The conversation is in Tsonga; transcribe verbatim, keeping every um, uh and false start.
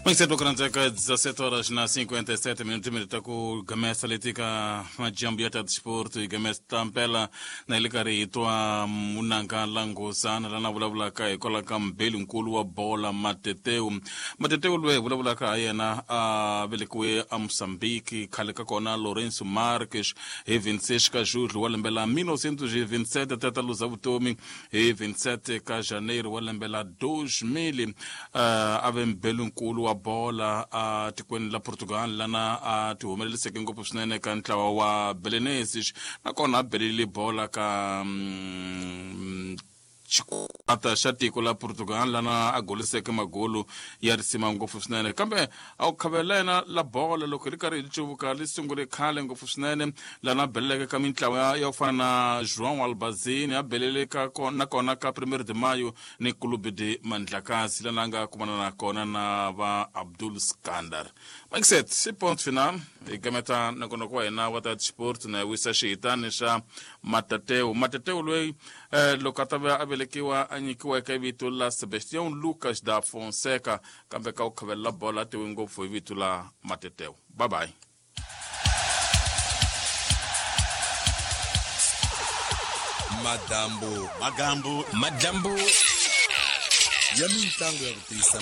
Mixed dezassete horas na cinquenta e sete minutos minuto ku gamesa letika majambu ya desporto e gamesa tampela na ile karhi hi twa munanga langosana lana vulavulaka hikwalaho ka mbeli nkulu wa bola Mateteu. Mateteu loyi hi vulavulaka ha yena a velekiwe a Mozambique, khale ka kona Lourenço Marques, hi vinte e seis ka julho wa lembe la mil novecentos e vinte e sete até ta luza vutomi hi vinte e sete ka janeiro wa lembe la dois mil. uh, a ve mbeli nkulu wa bola a tikweni la Portugal, lana a ti humeleliseke ngopfu swinene ka ntlawa wa Belenenses, nakona a belele bola ka mm, xikwata xa tiko la Portugal, lana a goliseke magolu ya risima ngopfu swinene. Kambe a wu khavela yena la bola loko hi ri karhi hi cuvuka li sungule khale ngopfu swinene, lana a beleleke ka mintlawa ya ku fana na João Albazini, a belele ka nakona ka Primeiro de Maio ni Clube de Mandlakazi, lana a nga kumana na kona na va Abdul Skandar. Maxet si ponto final hi gameta nongonoko wa hina wa ta sport na wisa xihitani xa Matateu. Matateu loyi eh, loko a ta va a velekiwa a nyikiwa eka vito la Sebastião Lucas da Fonseca, kambe ka ku khavelela bola a tiwi ngopfu hi vito la Mateteu. Bye bye. Madambu Magambu madambu ya mitlangu ya ku tiyisa.